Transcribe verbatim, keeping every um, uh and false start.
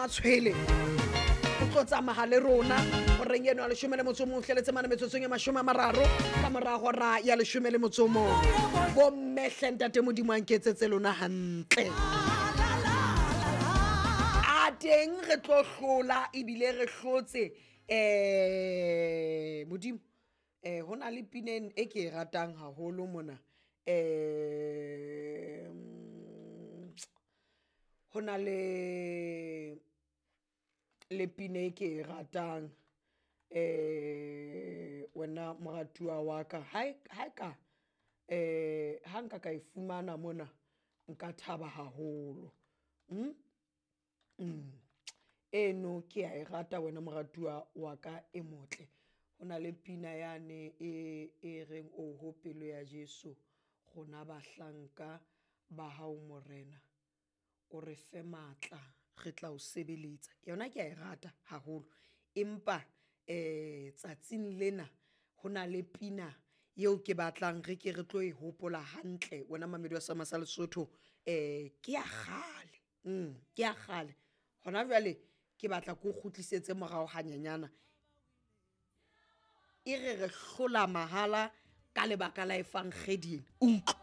Matshwele o tlo tsamaya le rona horeng eno ya leshome le motso o mong hleletse mane metsotsong e mashome a mararo ka mora hora ya leshome le motso o mong. Bomme hle, ntate Modimo a nketsetse lona hantle. A teng re tlo hlola ebile re hlotse. um Modimo, um ho na le pineng e ke e ratang haholo mona. um Ho na le le pina e ke e ratang, um wena moratuwa wa ka. Ha e ka um ha nka ka e fumana mona, nka thaba haholo. Eno ke ya e rata wena moratuwa wa ka e motle. Ho na le pina yane e e reng oho pelo ya Jeso rona bahlanka ba hao morena, o re fe matla re tla o sebeletsa. Yona ke ya e rata haholo, empa um tsatsing lena ho na le pina eo ke batlang re ke re tlo e hopola hantle wena mamedi wa seema sa Lesotho. Um ke ya kgale, ke ya kgale hona jwale, ke batla ke o kgutlisetse morao hanyenyana. E re re hlola mahala ka lebaka la efankgedi ena, utlwa.